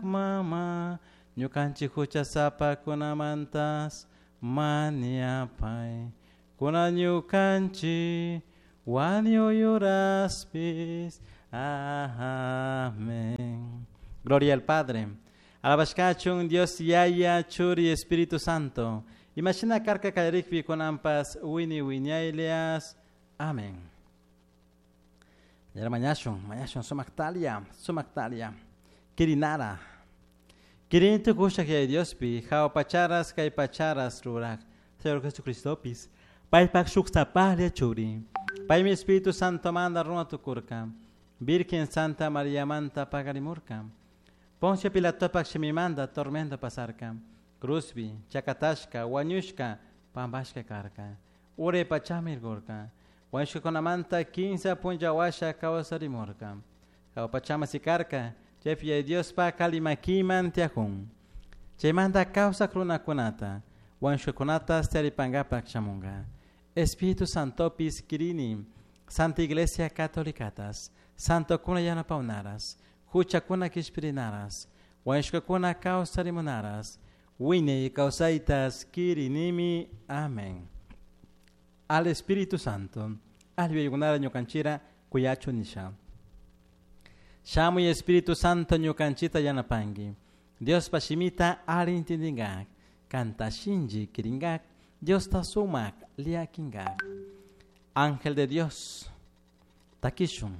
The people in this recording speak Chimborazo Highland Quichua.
Mama, ñukanchik huchasapakunamantas mañapay. Kunan ñukanchik wañuy uraspis. Amén. Gloria al Padre. Alabashkachun Dios Yaya, Churi, Espíritu Santo. Imashina karka kallarikpi kunanpas wini wiñaylias. Amén. Yara mañashun, mañashun sumaktalia, sumaktalia. Kirinara. Kirintu kushak yaya Diospi, jao pacharas kay pacharas rurak. Señor Jesucristopis. Paypak shuk sapahlla churi. Paymi Espíritu Santo manda runa tukurka. Virgen Santa María manta pagarimurka. Poncio Pilatopak shimimanda tormento pasarka. Cruzbi, chakatashka, wañushka, pampashka karka. Ure pachamirgurka. Wañushkakunamanta kinsa punlla washa kawsarimurka. Jahua pachama sikarka, chaypi Yaya Diospa kalimakiman tiyajun. Chaymanta kawsak runakunata, wañushkakunatas tiyaripankapak shamunka. Espíritu Santopis kirini, Santa Iglesia Catolicatas, Santokuna yanapawnaras, huchakuna kishpirinaras, wañushkakuna kawsarimunaras, wiñay kawsaytas kirinimi. Amén. Al Espíritu Santo, alli yuyaykunara ñukanchira kuyachu nisha. Shamuy Espíritu Santo ñukanchita yanapanki. Diospa shimita alli intindingak, kanta shinlli kiringak, Diosta sumak llakinkak. Ángel de Dios, takishun.